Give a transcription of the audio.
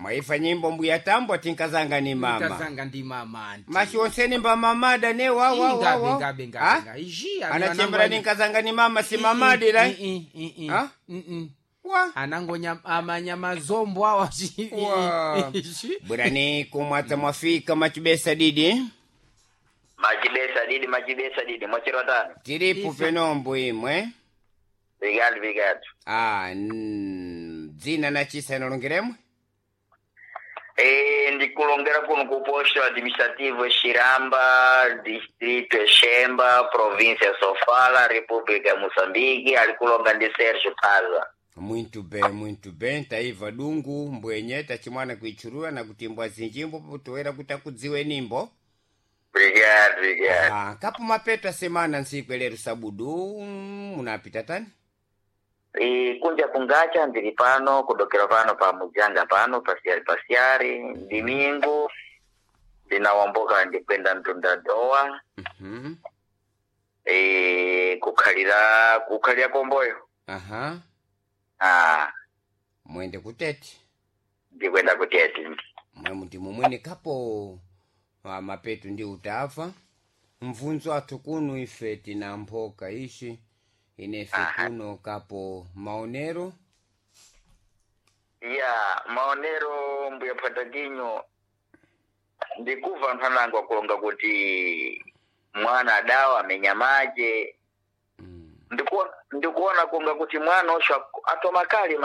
Mwaifa nyimbo mbuya tambo tinkazanga ni mama. Nkazanga ndi mama anti. Mashi onseni mba mamada ne wa wa wa Ingabe wa. ngabe Ah? ngabe ngabe. Iji Anachembera ni nkazanga ni mama si mamadi la. Ah? Wa. Anangonya amanyama zombo awa. Wa. Bwerani kumwata mwafika machibesa didi. Machibesa didi, machibesa didi, mwachiro tano. Tiripo penombo imwe. Vigatu vigatu. Ah, dzina na chisa inalongeremwe. E, ndikulongera kuno ku posto administrativo Xiramba, distrito ya Xemba, província ya Sofala, República ya Moçambique, alikulonga ndi Sérgio Paza. Muito bem, muito bem. Taiva dungu mbwenye tachimwana kuichurura na kutimbwa zinjimbo potoera kuti akudziwe nimbo. Obrigado, obrigado. Ah, kapo mapeto a semana ntsiku elero sabudu munapita tani? E, kunja kungacha ndili pano kudokera pano pa mujanga pano pasiari pasiari ndimingu ndinawamboka ndikwenda mtunda doa. E, kukhalira kukhalira komboyo. Aha, Ah, mwende kutete. ndikwenda kutete. Mwe muti mumwene kapo ah, mapeto ndi utafa. Mvunzo athu kuno ife tina mphoka ishi inefe Aha. kuno kapo maonero. Ya maonero mbuya patatinho ndikuva anthu anango akulonga kuti mwana adawa amenya mache. Ndikuona kunga kuti mwana osho atoma kali.